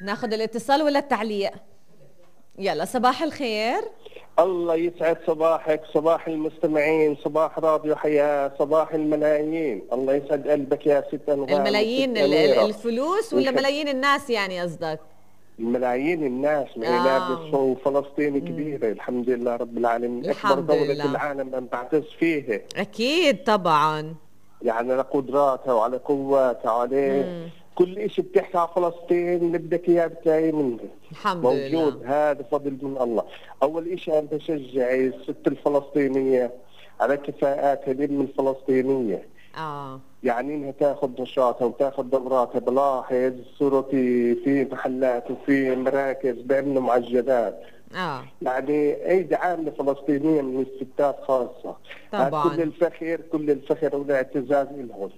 ناخد الاتصال ولا التعليق؟ يلا صباح الخير. الله يسعد صباحك، صباح المستمعين، صباح راديو حياة، صباح الملايين. الله يسعد قلبك يا ست أنغام. الملايين الفلوس ولا ملايين الناس يعني قصدك؟ الملايين الناس لابس فلسطين كبيرة الحمد لله رب العالمين. أكبر دولة العالم أن تعتز فيها أكيد طبعا، يعني على قدراتها وعلى قواتها وعلى كل إشي بتحكي على فلسطين اللي بدك إياه بتلاقي منه الحمد موجود لله. هذا فضل من الله. أول إشي أنا بشجع الست الفلسطينية على كفاءاتها الأم الفلسطينية. يعني إنها تاخذ نشاطها وتاخذ دوراتها. بلاحظ صورتي في محلات وفي مراكز بيعملوا معجنات. يعني أي عاملة فلسطينية من الستات خاصة طبعا. كل الفخر والاعتزاز لهم.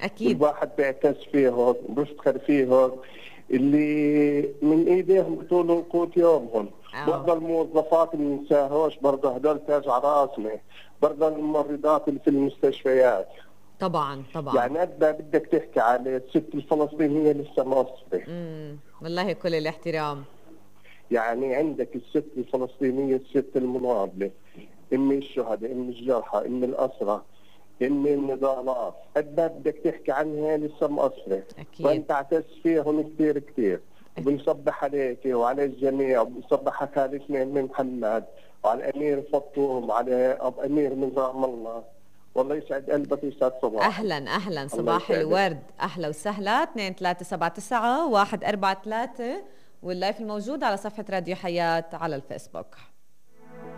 أكيد الواحد بيعتز فيهم وبيفتخر فيهم اللي من ايديهم بطولوا قوت يومهم. برضه الموظفات اللي ننساهوش برضه هدول تاج على راسنا. برضه الممرضات اللي في المستشفيات طبعا. يعني قد ما بدك تحكي على الست الفلسطينية لسه ما وصلت. والله كل الاحترام. يعني عندك الست الفلسطينية، الست المناضلة، ام الشهداء، ام الجرحى، ام الأسرى، ام النضالات، قد ما بدك تحكي عنها لسه مقصرة. وانت اعتز فيهم كثير كثير. وبنصبح عليك وعلى الجميع، وبنصبح على خالتنا ام محمد وعلى الامير فطوم وعلى اب امير نظام الله. والله يسعد قلبك ويسعد صباحك. اهلا صباح الورد، اهلا وسهلا. 2379 143 واللايف الموجود على صفحة راديو حياة على الفيسبوك.